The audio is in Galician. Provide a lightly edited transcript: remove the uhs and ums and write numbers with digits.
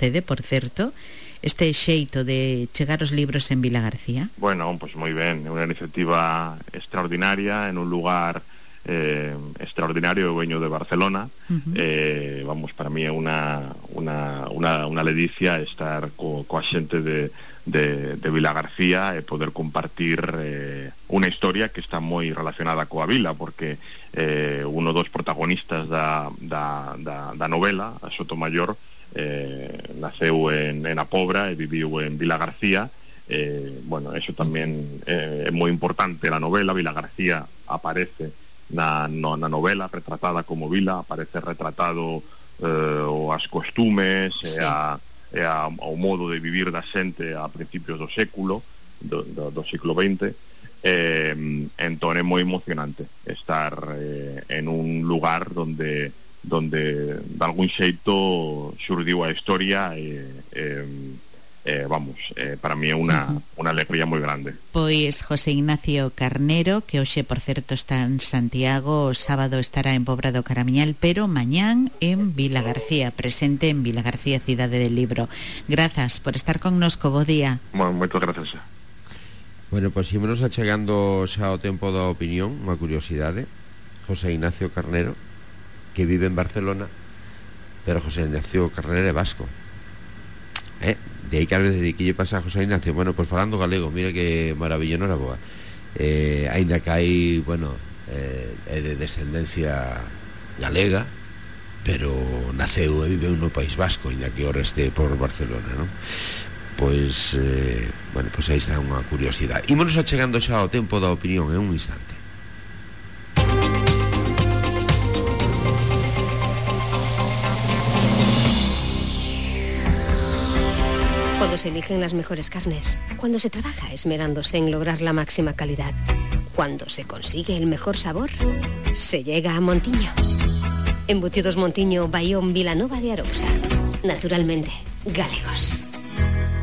vostede, por certo, este xeito de chegar os libros en Vilagarcía? Bueno, pois moi ben, é unha iniciativa extraordinaria en un lugar extraordinario. Eu veño de Barcelona. Vamos, para mí é unha ledicia estar coa xente de Vilagarcía e poder compartir unha historia que está moi relacionada coa vila, porque uno dos protagonistas da novela, a Sotomayor, naceu en A Pobra e viviu en Vilagarcía. Bueno, eso tamén é moi importante na novela. Vilagarcía aparece na novela retratada como vila, aparece retratado as costumes, sí, e ao modo de vivir da xente a principios do século do siglo XX. Entón é moi emocionante estar en un lugar donde de algún xeito xurdiu a historia vamos, para mí é unha alegría moi grande. Pois José Ignacio Carnero, que hoxe, por certo, está en Santiago, o sábado estará en Pobra do Caramiñal, pero mañán en Vilagarcía, presente en Vilagarcía, Cidade del Libro. Grazas por estar connosco, bo día. Moitas grazas. Bueno, pois ímonos achegando xa o tempo da opinión, unha curiosidade. José Ignacio Carnero, que vive en Barcelona, pero José Ignacio Carnero é vasco. De aí que a veces que lle pasa a José Ignacio, bueno, pois falando galego, mira que maravilla, non era boa. Ainda que hai, bueno, é de descendencia galega, pero naceu e viveu no País Vasco, ainda que o reste por Barcelona, non? Pois, bueno, pois aí está unha curiosidade. Ímonos achegando xa ao tempo da opinión, en un instante. Cuando se eligen las mejores carnes, cuando se trabaja esmerándose en lograr la máxima calidad, cuando se consigue el mejor sabor, se llega a Montiño. Embutidos Montiño, Bayón, Vilanova de Arousa. Naturalmente, galegos.